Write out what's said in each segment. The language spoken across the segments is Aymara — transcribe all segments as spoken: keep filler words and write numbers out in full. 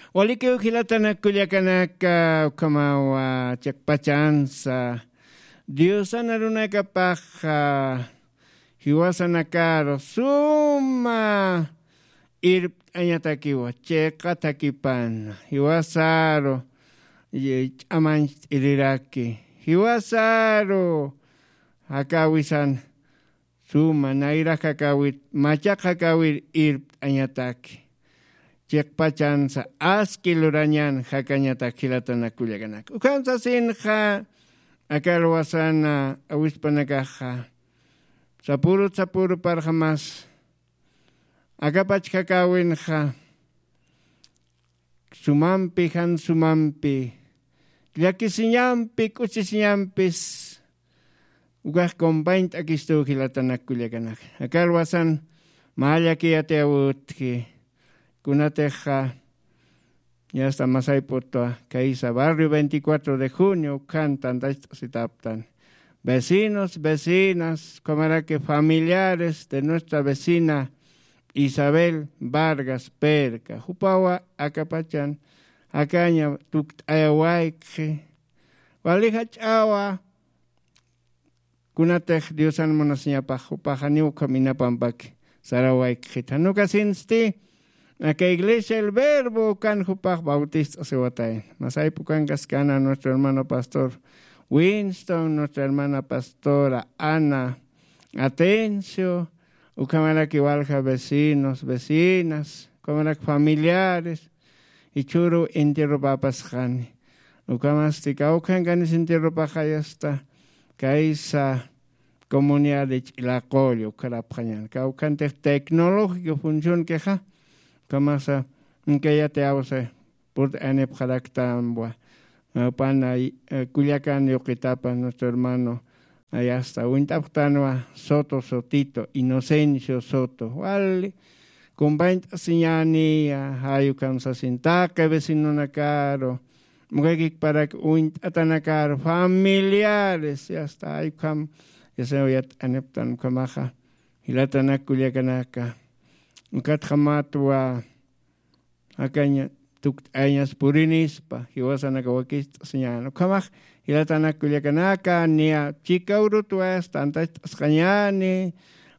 Walikiw jilatanak kullakanaka, ukhamawa chiqpachansa diosan arunakapaxa jiwasanakaru suma irpt'añatakiwa, chiqa thakipana jiwasaru ch'amancht'iriraki, jiwasaru jakawisan suma nayra jakawit machaq jakawir irpt'añataki, chiqpachansa aski lurañan jakañatak jilatanak kullakanaka. Ukham sasinxa aka alwasana awispanakaxa sapürut sapüru parxamas akapach jakäwinxa sumampi jan sumampi llakisiñampi k'uchisiñampis ukax compañt'akistuw jilatanak kullakanaka. Aka alwasan mä llakiyatiyäwitki kunatixa yasta masayp'utwa kaysa barrio veinticuatro de junio ukhan tantacht'asitaptan vecinos, vecinas, ukhamaraki familiares de nuestra vecina Isabel Vargas Perca. Jupawa akapachan jakaña tukt'ayawaykxi. Wali jach'awa kunatix diosan munasiñapax jupaxa niw ukham inapampaki sarawaykxita. Nukasinsti aka iglesia el verbo ukan jupax bautist'asiwatayna. Masaypukankaskana nuestro hermano pastor Winston, nuestra hermana pastora Ana Atencio, ukhamaraki walja vecinos, vecinas, ukhamaraki familiares jichhüru entierropapasxani. Ukhamasti kawkhankanis entierropaxayasta kaysa comunidad de Ch'ilaqullu ukharapxañan kawkhantix tecnológico funcionkixa. Ukhamasa inkayatiyawsa purt'anipxaraktanwa. Pana kullakan yuqitapan nuestro hermano ayasta uñt'apxtanwa Soto Sotito, Inocencio Soto wali compañt'asiñäniya. Jay ukham sasin taqi vecinonakaru mukakikparak uñt'atanakaru familiares yasta jay ukham yasaw yat'aniptan ukhamaxa jilatanak kullakanaka. Ukatxa matwa jakaña tukt'ayañas purinispa jiwasanaka wakicht'asiñäni ukhamax jilatanak kullakanaka niya chikawrutwas tantacht'asqañäni.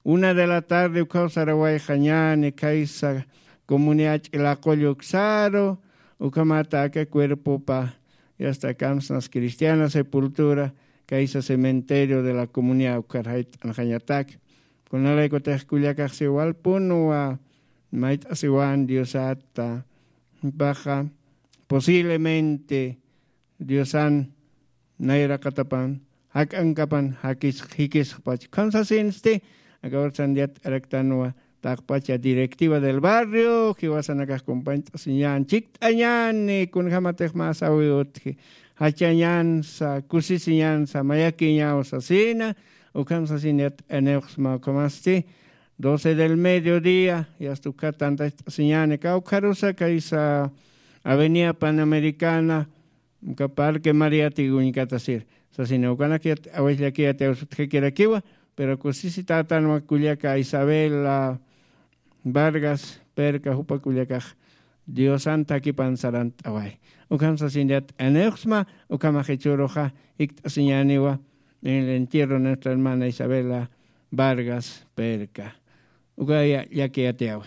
Una de la tarde ukhaw sarawayxañäni khaysa comunidad Ch'ilaqullu uksaru ukhamata aka cuerpopa yasta kamsnas cristiana sepultura khaysa cementerio de la comunidad ukhar jayt'anxañatak. Kunalaykutix kullakaxsi walpunwa mayt'asiwan diosata paxa posiblemente diosan nayraqatapan jak'ankapan jikisxpach ukham sasinsti. Aka ursan yat'araktanwa taqpacha directiva del barrio jiwasanakax compañt'asiñän chikt'añäni kunjämatix mä sawi utji jachañänsa kusisiñänsa mayakiñaw sasina. Ukham sasin yat'aniwxsma ukhamasti doce del mediodía yasta ukhat tantacht'asiñäni kawkharusa kaysa avenida panamericana uka parque mariatik uñkatasir sasina ukanak yat awayllakiyat awsutjakirakiwa. Pero kusisitätanwa kullaka Isabela Vargas Perca jupa kullakax diosan thakipan sarant'away. Ukham sasin yat'aniwxsma ukhamax jichhüruxa jikt'asiñäniwa en el entierro nuestra hermana Isabela Vargas Perca. Uka llakiyatiyawi.